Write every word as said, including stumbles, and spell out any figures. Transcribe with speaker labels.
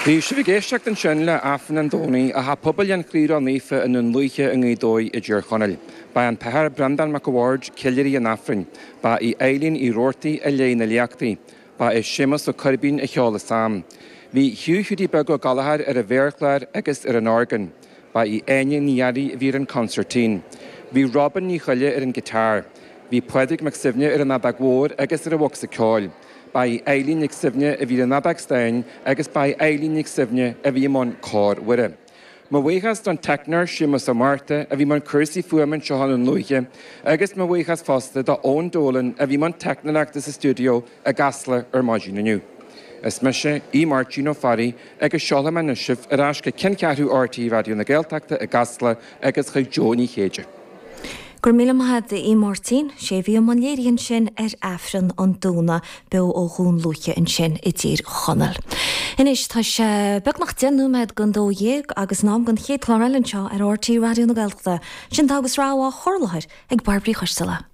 Speaker 1: Bhí sibh ag éisteacht ansin le Aifreann an Domhnaigh ó Theach Pobail an Chroí Naofa i nDún Lúiche i nGaoth Dobhair i dTír Chonaill. Ba an tAthair Breandán Mac a' Bhaird ceiliúraí an Aifrinn, Ba í Eileen Uí Roarty a léigh na léachtaí, Ba é Séamus Ó Coirbín a cheol an salm. Bhí Hugh Hiúdaí Beag Ó Gallchóir ar an mhéarchlár agus ar an orgán. Ba í Áine Ní Fhearraigh a bhí ar an consairtín. Bhí Robin Ní Choille ar an guitar. Bhí Pádraig Mac Suibhne ar an fheadóg mhór agus ar an bhocsa ceoil. Ba í Eileen Nic Suibhne a bhí an fheadóg stáin agus ba í Eileen Nic Suibhne a bhí i mbun cór Mhuire. Mo bhuíochas don teicneoir Séamus Ó Márta a bhí i mbun cúrsaí fuaime anseo i nDún Lúiche, agus mo bhuíochas fosta do Eoin Dolan a bhí i mbun teicneoireachta sa stiúideo i gCasla ar maidin inniu. Is mise Aodh Máirtín Ó Fearraigh agus seolfaidh mé anois sibh ar ais go ceanncheathrú RTÉ Raidió na Gaeltachta i gCasla agus chuig Jo Ní Chéide.
Speaker 2: Gur mí maith í Máirtín sé bhí an léiríonn sin ar Aifreann an Domhnaigh beo ó Dhún Lúiche ansin i dTír Chonaill. Anois tá sé beagnach deich nóiméad don dó dhéag agus in am don chéad chlár eile anseo ar RTÉ Raidió na Gaeltachta, sin agus rá á chur i láthair ag Bairbre Coisteala.